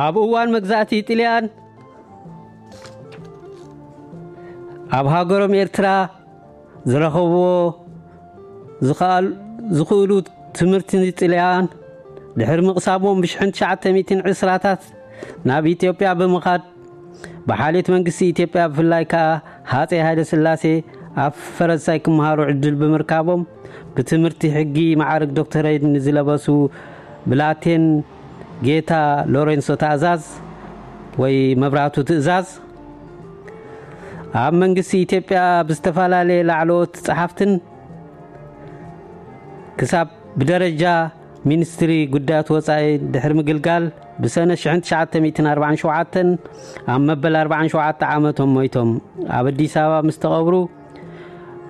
ኣብ እዋን መግዛእቲ ጥልያን ኣብ ሃገሮም ኤርትራ ዝረኸብዎ ዝኸኣል- ዝኽእሉ ትምህርቲ ጥልያን ድሕሪ ምቕሳሞም ብሽሕን ትሽዓተ ሚእትን ዕስራታት ናብ ኢትዮጵያ ብምኻድ ብሓልዮት መንግስቲ ኢትዮጵያ ብፍላይ ከኣ ሃፀይ ሃይለ ስላሴ ኣብ ፈረንሳይ ክመሃሩ ዕድል ብምርካቦም ብትምህርቲ ሕጊ ማዕርግ ዶክተሬት ንዝለበሱ ብላቴን ጌታ ሎሬንሶ ታእዛዝ ወይ መብራቱ ትእዛዝ ኣብ መንግስቲ ኢትዮጵያ ብዝተፈላለየ ላዕለዎት ጸሓፍትን ክሳብ ብደረጃ ሚኒስትሪ ጉዳያት ወጻኢ ድሕሪ ምግልጋል ብሰነ ሽሕን ትሽዓተ ሚእትን ኣርባዓን ሸውዓተን ኣብ መበል ኣርባዓን ሸውዓተ ዓመቶም ሞይቶም። ኣብ ኣዲስ ኣበባ ምስ ተቐብሩ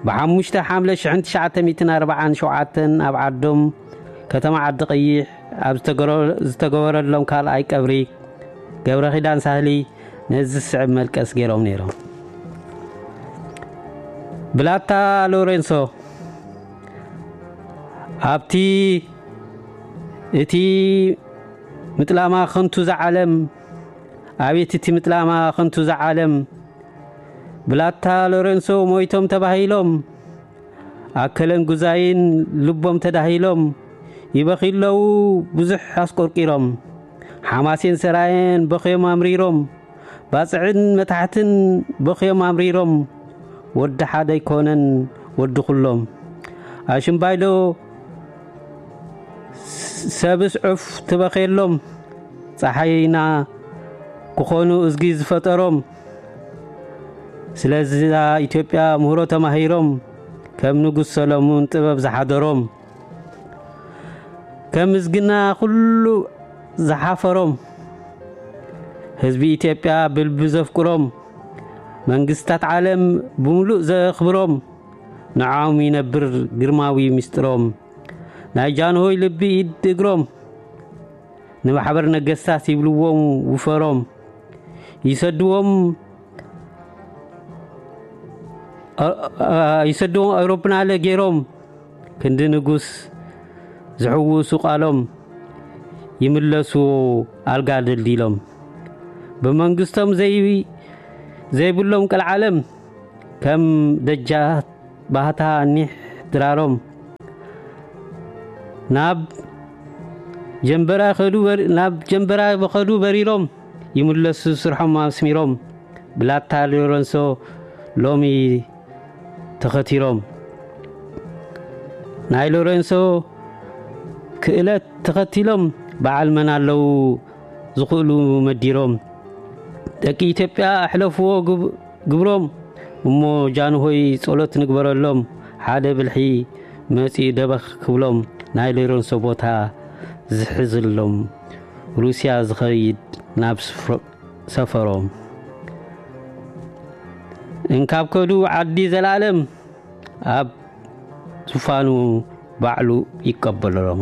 ብሓሙሽተ ሓምለ ሽሕን ትሽዓተ ሚእትን ኣርባዓን ሸውዓተን ኣብ ዓዶም ከተማ ዓዲ ቀይሕ ኣብ ዝተገረ- ዝተገበረሎም ካልኣይ ቀብሪ ገብረ ኪዳን ሳህሊ ነዚ ዝስዕብ መልቀስ ገይሮም ነይሮም። ብላታ ሎሬንሶ ኣብቲ እቲ ምጥላማ ከንቱ ዝዓለም ኣቤት እቲ ምጥላማ ከንቱ ዝዓለም ብላታ ሎሬንሶ ሞይቶም ተባሂሎም ኣከለን ጉዛይን ልቦም ተዳሂሎም ይበኺ ኣለዉ ብዙሕ ኣስቆርቂሮም ሓማሴን ሰራየን በኽዮም ኣምሪሮም ባጽዕን መታሕትን በኽዮም ኣምሪሮም ወዲ ሓደ ኣይኮነን ወዲ ኩሎም ኣሽምባይዶ ሰብስ ዑፍ ትበኸሎም ጸሓይና ክኾኑ እዝጊ ዝፈጠሮም ስለዚ ኢትዮጵያ ምህሮ ተማሂሮም ከም ንጉስ ሰሎሙን ጥበብ ዝሓደሮም ከም ምዝግና ኩሉ ዝሓፈሮም ህዝቢ ኢትዮጵያ ብልቢ ዘፍቅሮም መንግስታት ዓለም ብምሉእ ዘኽብሮም ንዓኦም ይነብር ግርማዊ ምስጢሮም ናይ ጃንሆይ ልቢ ኢድ እግሮም ንማሕበር ነገስታት ይብልዎም ውፈሮም ይሰድዎም ይሰድዎም ኣውሮፕላን ገይሮም ክንዲ ንጉስ ዝሕውሱ ቃሎም ይምለሱ ኣልጋ ደልዲሎም ብመንግስቶም ዘይብሎም ቀልዓለም ከም ደጃት ባህታ ኒሕ ድራሮም ናብ ጀንበራ ከዱ ናብ ጀንበራ በኸዱ በሪሮም ይምለሱ ስርሖም ኣስሚሮም ብላታ ሎረንሶ ሎሚ ተኸቲሮም ናይ ሎረንሶ ክእለት ተኸቲሎም በዓል መን ኣለዉ ዝኽእሉ መዲሮም ደቂ ኢትዮጵያ ኣሕለፍዎ ግብሮም እሞ ጃንሆይ ጸሎት ንግበረሎም ሓደ ብልሒ መጺኡ ደበኽ ክብሎም ናይ ሎረንሶ ቦታ ዝሕዝሎም ሩስያ ዝኸይድ ናብ ሰፈሮም እንካብ ከዱ ዓዲ ዘላለም ኣብ ዙፋኑ ባዕሉ ይቀበሎም።